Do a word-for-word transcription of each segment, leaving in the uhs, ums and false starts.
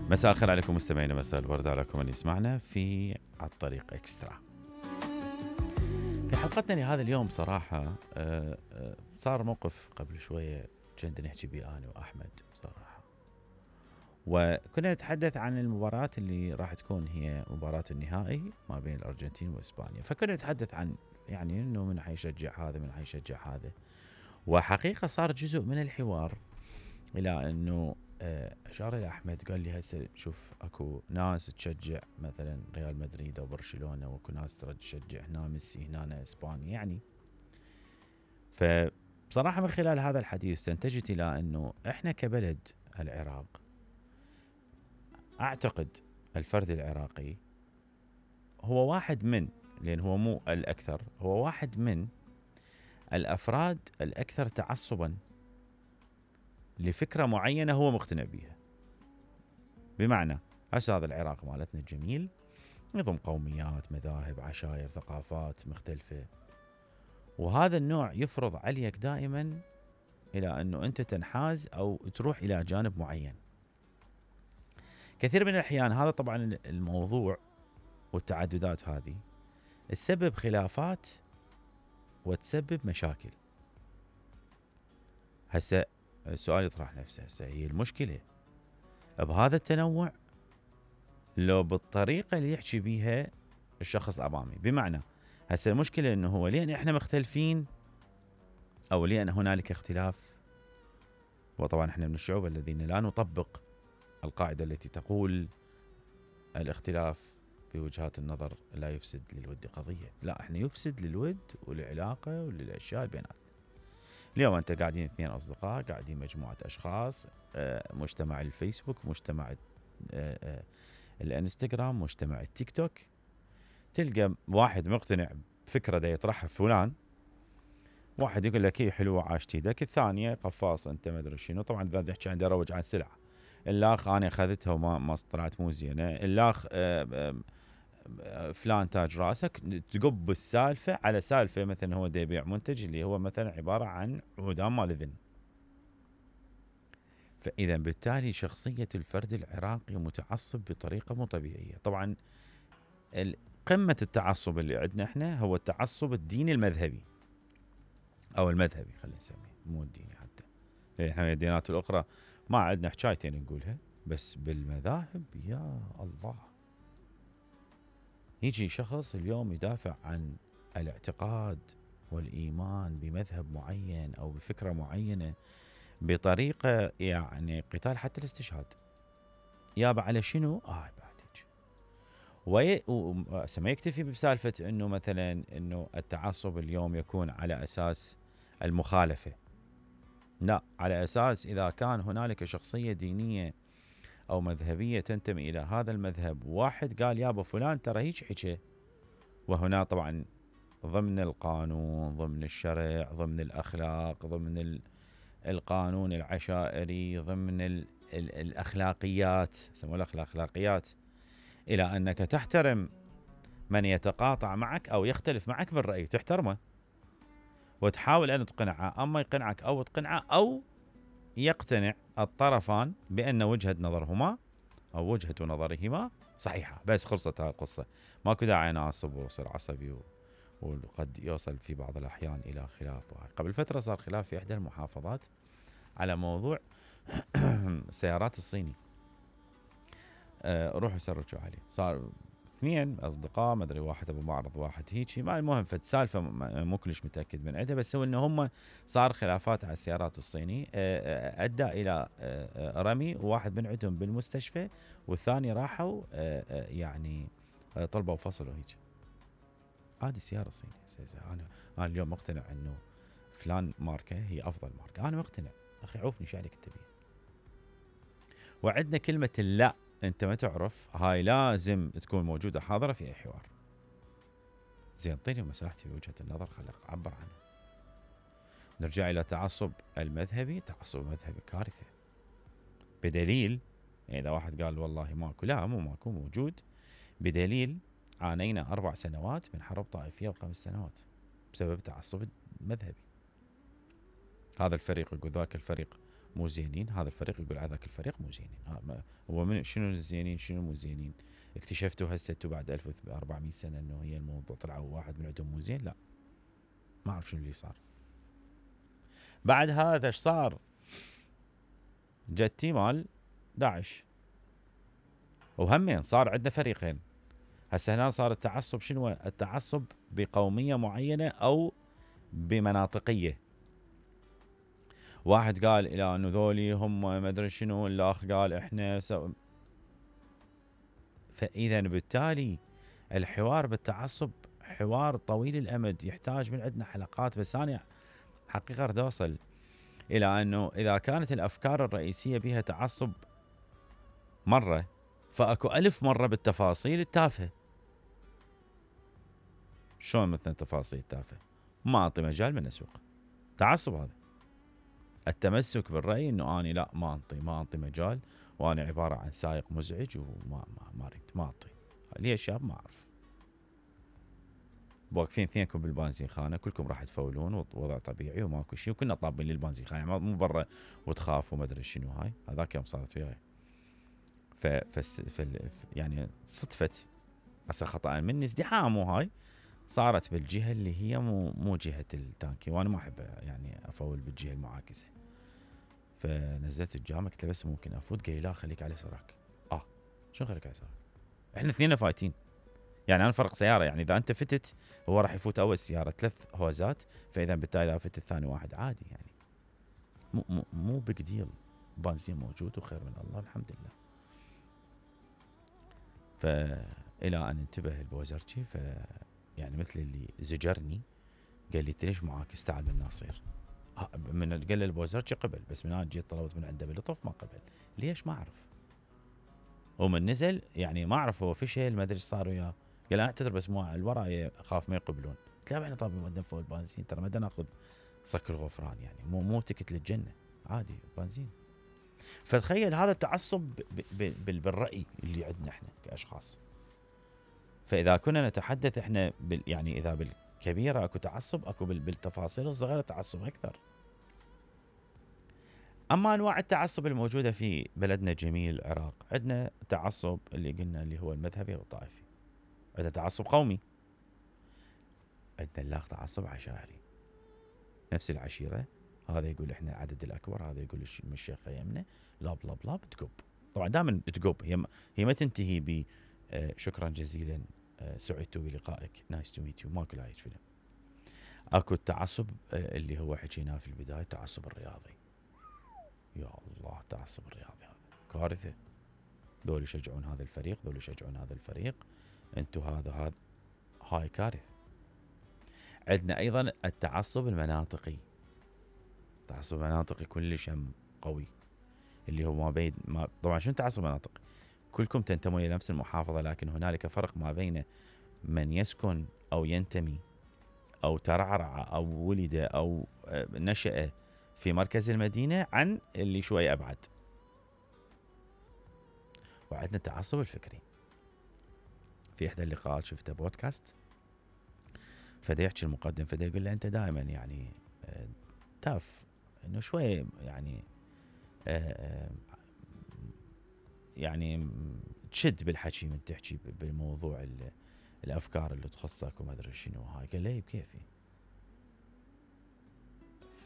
مساء الخير عليكم مستمعينا، مساء الورد عليكم من يسمعنا في على الطريق اكسترا. في حلقتنا لهذا اليوم صراحة صار موقف قبل شوية كنت نحكي بيه أنا وأحمد صراحة، وكنا نتحدث عن المباراة اللي راح تكون هي مباراة النهائي ما بين الأرجنتين وإسبانيا. فكنا نتحدث عن يعني إنه من حيشجع هذا من حيشجع هذا، وحقيقة صار جزء من الحوار إلى إنه أشار إلى أحمد قال لي هسه شوف أكو ناس تشجع مثلا ريال مدريد أو برشلونة، وأكو ناس ترد تشجع هنا ميسي هنا إسبانيا يعني. فبصراحة من خلال هذا الحديث استنتجت إلى أنه إحنا كبلد العراق، أعتقد الفرد العراقي هو واحد من، لأن هو مو الأكثر، هو واحد من الأفراد الأكثر تعصبا لفكرة معينة هو مقتنع بها. بمعنى هسه هذا العراق مالتنا الجميل نظم قوميات مذاهب عشائر ثقافات مختلفة، وهذا النوع يفرض عليك دائما إلى أنه أنت تنحاز أو تروح إلى جانب معين. كثير من الأحيان هذا طبعا الموضوع والتعددات هذه تسبب خلافات وتسبب مشاكل. هسه السؤال يطرح نفسه، هسه هي المشكلة بهذا التنوع لو بالطريقة اللي يحكي بيها الشخص أمامي؟ بمعنى هسه المشكلة إنه هو لين إحنا مختلفين أو لين هنالك اختلاف، وطبعا إحنا من الشعوب الذين لا نطبق القاعدة التي تقول الاختلاف بوجهات النظر لا يفسد للود قضية، لا إحنا يفسد للود وللعلاقة وللأشياء بيناتنا. اليوم أنت قاعدين اثنين أصدقاء، قاعدين مجموعة أشخاص، مجتمع الفيسبوك، مجتمع الانستغرام، مجتمع التيك توك، تلقى واحد مقتنع بفكرة دا يطرحها فلان، واحد يقول لك هي حلوة عاشت ايدك، الثانية قفاص انت ما ادري شنو. طبعا اذا تحكي عن اروج عن سلعة، الاخ انا اخذتها وما ما طلعت مو زينة، الاخ فلان تاج راسك، تقب السالفة على سالفة مثلا هو دا يبيع منتج اللي هو مثلا عبارة عن عودان مال اذن. فاذا بالتالي شخصية الفرد العراقي متعصب بطريقة مو طبيعية. طبعا قمة التعصب اللي عندنا احنا هو التعصب الديني المذهبي او المذهبي، خلينا نسميه مو الديني حتى، لان احنا الديانات الاخرى ما عندنا حكايتين نقولها، بس بالمذاهب يا الله. يجي شخص اليوم يدافع عن الاعتقاد والايمان بمذهب معين او بفكرة معينة بطريقة يعني قتال حتى الاستشهاد. يابا على شنو؟ اه وي... وما يكتفي بسالفة انه مثلا انه التعصب اليوم يكون على اساس المخالفة، لا، على اساس اذا كان هنالك شخصية دينية او مذهبية تنتمي الى هذا المذهب، واحد قال يابا فلان ترى هيك حكي، وهنا طبعا ضمن القانون ضمن الشرع ضمن الاخلاق ضمن ال... القانون العشائري ضمن ال... ال... الاخلاقيات، يسموها الاخلاقيات، إلى أنك تحترم من يتقاطع معك أو يختلف معك بالرأي، تحترمه وتحاول أن تقنعه، أما يقنعك أو تقنعه أو يقتنع الطرفان بأن وجهة نظرهما أو وجهة نظرهما صحيحة، بس خلصت هاي القصة. ماكو داعي أنا أعصب وأصير عصبي و... وقد يوصل في بعض الأحيان إلى خلاف. قبل فترة صار خلاف في إحدى المحافظات على موضوع السيارات الصيني، أه روحوا سرجوا عليه. صار اثنين اصدقاء ما ادري واحد ابو معرض واحد هيجي، ما المهم فد سالفه مو كلش متاكد من عندها، بس هو انه هم صار خلافات على السيارات الصيني أه ادى الى أه رمي، وواحد من عندهم بالمستشفى والثاني راحوا أه يعني أه طلبوا فصل وهيك. هذه السياره الصيني. انا انا اليوم مقتنع انه فلان ماركه هي افضل ماركه، انا مقتنع اخي عوفني شو عليك تبي. وعندنا كلمه لا، انت ما تعرف، هاي لازم تكون موجودة حاضرة في اي حوار. زين اعطيني مساحتي بوجهة النظر، خليك اعبر عنها. نرجع الى تعصب المذهبي، تعصب المذهبي كارثة، بدليل اذا واحد قال والله ماكو، لا مو ماكو، موجود، بدليل عانينا اربع سنوات من حرب طائفية وخمس سنوات بسبب تعصب المذهبي. هذا الفريق يقول ذاك الفريق مو زينين، هذا الفريق يقول على ذاك الفريق مو زينين. هو من شنو الزينين شنو مو زينين؟ اكتشفتوا هسه انتم بعد ألف وأربعمية سنه انه هي الموضوع طلعوا واحد من عندهم مو زين؟ لا، ما اعرف شنو اللي صار. بعد هذا ايش صار؟ جتي مال داعش، وهمين صار عندنا فريقين. هسه هنا صار التعصب شنو؟ التعصب بقوميه معينه او بمناطقيه. واحد قال الى انه ذولي هم ما ادري شنو، الاخ قال احنا سو... فاذا بالتالي الحوار بالتعصب حوار طويل الامد يحتاج من عندنا حلقات. بس انا حقيقه اريد اوصل الى انه اذا كانت الافكار الرئيسيه بها تعصب مره، فاكو الف مره بالتفاصيل التافهه. شلون مثلا تفاصيل تافهه؟ ما اعطي مجال من اسوق. تعصب هذا التمسك بالراي انه اني لا ما انطي ما انطي مجال، وانا عباره عن سائق مزعج وما ما ما اريد ما اعطي. ليش شاب؟ ما اعرف. واقفين اثنينكم بالبنزين خانه، كلكم راح تفولون ووضع طبيعي وماكو شيء، وكنا طابين للبنزين خانه، يعني مو برا وتخاف وما ادري شنو. هاي هذاك يوم صارت وياي. ف ف يعني صدفت هسه خطا مني ازدحام، وهاي صارت بالجهه اللي هي مو مو جهه التانكي، وانا ما احب يعني افول بالجهه المعاكسه. فنزلت الجامعه قلت له بس ممكن افوت؟ قال لي لا خليك على يسارك. اه شنو خليك على يسارك؟ احنا اثنين فايتين، يعني انا فرق سياره، يعني اذا انت فتت هو راح يفوت اول سياره ثلاث هوزات، فاذا بالتالي اذا فتت ثاني واحد عادي، يعني مو مو مو بيج ديل، بنزين موجود وخير من الله الحمد لله. فالى ان انتبه البوزرجي، ف يعني مثل اللي زجرني، قال لي انت ليش معاكس؟ تعال من ناصير. من قال البوزرجي قبل، بس من انا جيت طلبت من عنده بلطف ما قبل. ليش؟ ما اعرف. ومن نزل يعني ما اعرف هو فشل ما ادري ايش صار وياه. قال انا اعتذر بس مو الوراء اخاف ما يقبلون. قلت له احنا طابين مقدم فوق البنزين، ترى ما ناخذ صك الغفران، يعني مو مو تكت للجنه، عادي بنزين. فتخيل هذا التعصب بالراي اللي عندنا احنا كاشخاص. فاذا كنا نتحدث احنا بال يعني اذا بالكبيره اكو تعصب، اكو بالتفاصيل الصغيره تعصب اكثر. اما انواع التعصب الموجوده في بلدنا الجميل العراق، عندنا تعصب اللي قلنا اللي هو المذهبي والطائفي، عندنا تعصب قومي، عندنا اللاخ تعصب عشائري. نفس العشيره، هذا يقول احنا عدد الاكبر، هذا يقول الشيخ يمنا، لا بلا بلا بتقب. طبعا دائما تقب، هي هي ما تنتهي ب آه شكرا جزيلا، آه سعدت بلقائك، نايس تو ميت يو، ماكو لا فيلم. اكو التعصب آه اللي هو حكيناه في البدايه، التعصب الرياضي. يا الله، التعصب الرياضي هذا كارثه. ذول يشجعون هذا الفريق، ذول يشجعون هذا الفريق، انتم هذا هذا هاي كارثه. عندنا ايضا التعصب المناطقي. التعصب المناطقي كلش هم قوي، اللي هو ما بين ما طبعا شنو تعصب مناطقي؟ كلكم تنتمون الى نفس المحافظه، لكن هنالك فرق ما بين من يسكن او ينتمي او ترعرع او ولد او نشأ في مركز المدينه عن اللي شوي ابعد. وعندنا التعصب الفكري. في احدى اللقاءات شفته بودكاست، فدا يحكي المقدم، فدا يقول له انت دائما يعني تاف انه شوي يعني يعني تشد بالحكي من تحكي بالموضوع الافكار اللي تخصك وما ادري شنو هاي. قال له بكيفي.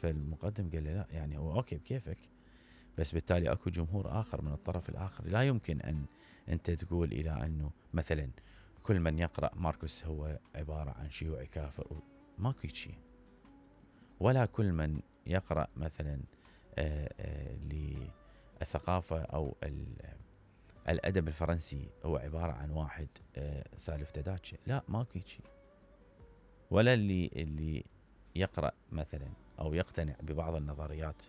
فالمقدم قال له لا يعني هو اوكي بكيفك، بس بالتالي اكو جمهور اخر من الطرف الاخر، لا يمكن ان انت تقول الى انه مثلا كل من يقرأ ماركوس هو عبارة عن شيوعي كافر، ماكو شيء. ولا كل من يقرأ مثلا آآ آآ للثقافة او الادب الفرنسي هو عبارة عن واحد سالف تداتشه، لا ماكو شيء. ولا اللي اللي يقرأ مثلا او يقتنع ببعض النظريات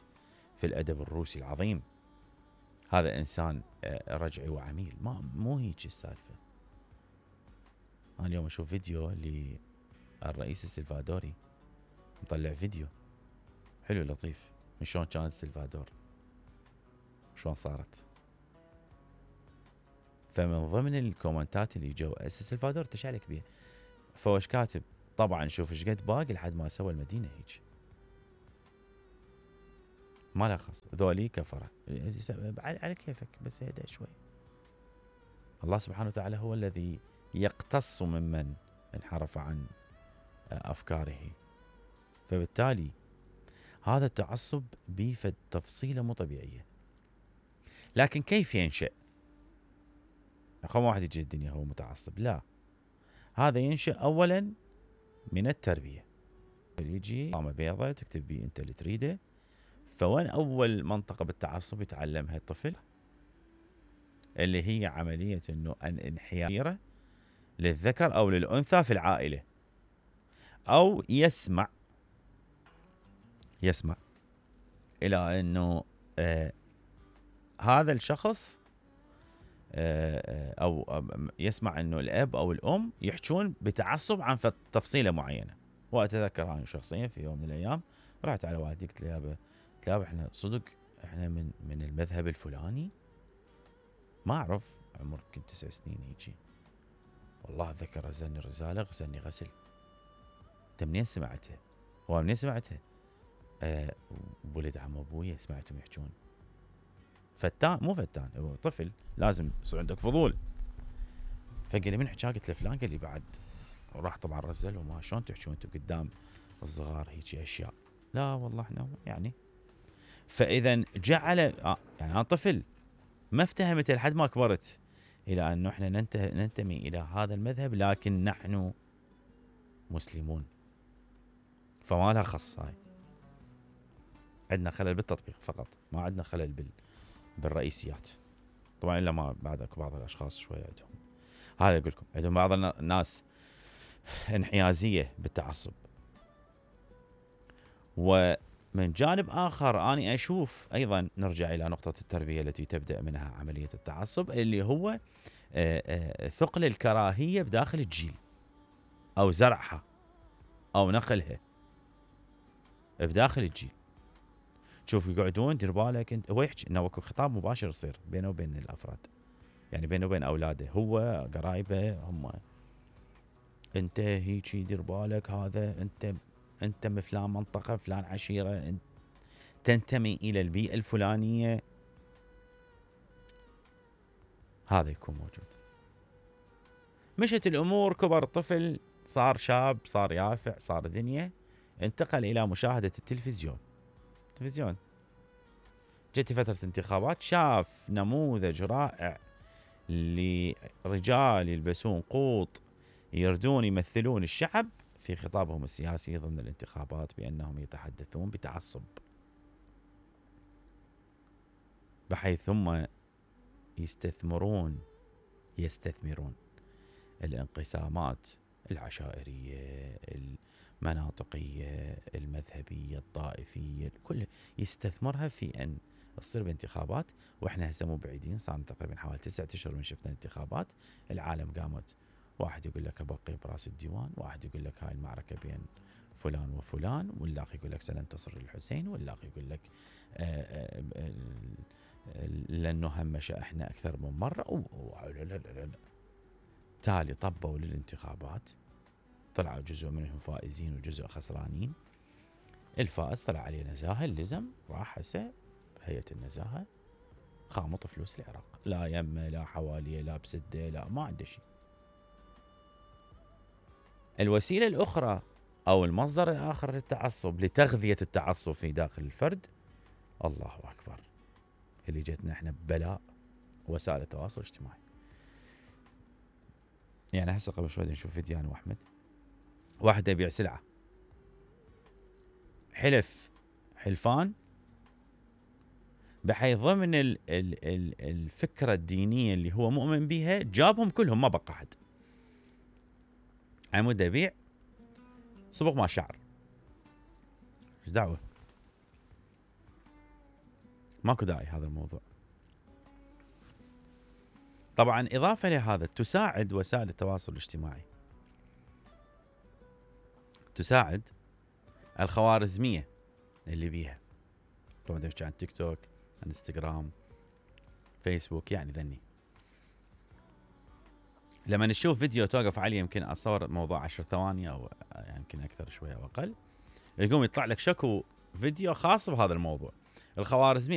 في الادب الروسي العظيم هذا انسان رجعي وعميل، ما مو هيك السالفه. انا اليوم اشوف فيديو للرئيس السلفادوري، مطلع فيديو حلو لطيف من شلون كان السلفادور، شلون صارت. فمن ضمن الكومنتات اللي جو السلفادور تشعلك بيه، فوش كاتب طبعا شوف ايش قد باقي لحد ما سوى المدينه هيك. ما لها خاص، ذولي كفره على كيفك، بس اهدأ شوي. الله سبحانه وتعالى هو الذي يقتص ممن انحرف عن افكاره. فبالتالي هذا التعصب بيه تفصيله مو طبيعيه. لكن كيف ينشأ؟ خو ما واحد يجي الدنيا هو متعصب، لا، هذا ينشأ اولا من التربيه. يجي قامه بيضة تكتب بيه انت اللي تريده. فوين اول منطقه بالتعصب يتعلمها الطفل؟ اللي هي عمليه انه ان انحياره للذكر او للانثى في العائله، او يسمع يسمع الى انه آه هذا الشخص آه او يسمع انه الاب او الام يحجون بتعصب عن تفصيله معينه. واتذكر انا شخصيا في يوم من الايام رحت على والدي قلت له يابا، قلت له احنا صدق احنا من من المذهب الفلاني، ما اعرف، عمر كنت تسع سنين هيجي. والله اتذكر غسلني رساله، غسلني غسل. انت منين سمعتها؟ هو منين سمعتها؟ أه ولد عم ابويا سمعتهم يحجون. فتان مو فتان، هو طفل لازم يصير عندك فضول. فقال لي من حكى؟ قلت له فلان. قال لي بعد. وراح طبعا رزل، وما شلون تحجون انتم قدام الصغار هيجي اشياء؟ لا والله احنا يعني. فاذا جعل آه يعني انا طفل ما افتهمت لحد ما كبرت الى انه احنا ننتمي الى هذا المذهب، لكن نحن مسلمون. فما لها خص هاي. عندنا خلل بالتطبيق فقط، ما عندنا خلل بال بالرئيسيات. طبعا الا ما بعدك بعض الاشخاص شويه عندهم هذا. اقول لكم عندهم بعض الناس انحيازيه بالتعصب. ومن جانب اخر اني اشوف ايضا نرجع الى نقطه التربيه التي تبدا منها عمليه التعصب، اللي هو ثقل الكراهيه بداخل الجيل، او زرعها او نقلها بداخل الجيل. شوف يقعدون دير بالك انت، هو يحكي انه خطاب مباشر يصير بينه وبين الافراد، يعني بينه وبين اولاده، هو قرايبه هم. انت هيجي دير بالك، هذا انت انت من فلان منطقه، فلان عشيره، انت تنتمي الى البيئه الفلانيه. هذا يكون موجود. مشت الامور، كبر الطفل، صار شاب، صار يافع، صار دنيا، انتقل الى مشاهده التلفزيون. تلفزيون جت فتره انتخابات، شاف نموذج رائع لرجال يلبسون قوط يردون يمثلون الشعب في خطابهم السياسي ضمن الانتخابات، بانهم يتحدثون بتعصب، بحيث هم يستثمرون يستثمرون الانقسامات العشائريه، المناطقيه، المذهبيه، الطائفيه، كل يستثمرها في ان تصير بانتخابات. واحنا هسه مو بعيدين، صار تقريبا حوالي تسعة اشهر من شفنا الانتخابات. العالم قامت، واحد يقول لك ابقي براس الديوان، واحد يقول لك هاي المعركه بين فلان وفلان، واللاخ يقول لك سننتصر الحسين، واللاخ يقول لك آآ آآ لانه همش احنا اكثر من مره. لا لا لا لا. تالي طبوا للانتخابات، طلعوا جزء منهم فائزين وجزء خسرانين. الفائز طلع عليه نزاهه، اللزم راح هسه هيئه النزاهه خامط فلوس العراق، لا يمه لا حواليه لا بسده، لا ما عنده شيء. الوسيله الاخرى او المصدر الاخر للتعصب، لتغذيه التعصب في داخل الفرد، الله اكبر، اللي جتنا احنا ببلاء، وسائل التواصل الاجتماعي. يعني هسه قبل شوي نشوف فيديو انا واحمد، واحد يبيع سلعه، حلف حلفان بحيث ضمن ال ال ال الفكره الدينيه اللي هو مؤمن بها جابهم كلهم، ما بقى احد. عمود يبيع صبغ مع شعر، ايش دعوه؟ ماكو داعي هذا الموضوع. طبعا اضافه لهذا، تساعد وسائل التواصل الاجتماعي، تساعد الخوارزميه اللي بيها. طبعا تحكي عن تيك توك، عن انستغرام، فيسبوك، يعني ذني. لما نشوف فيديو توقف عليه، يمكن اصور موضوع عشر ثواني او يمكن اكثر شويه او اقل، يقوم يطلع لك شكو فيديو خاص بهذا الموضوع. الخوارزمي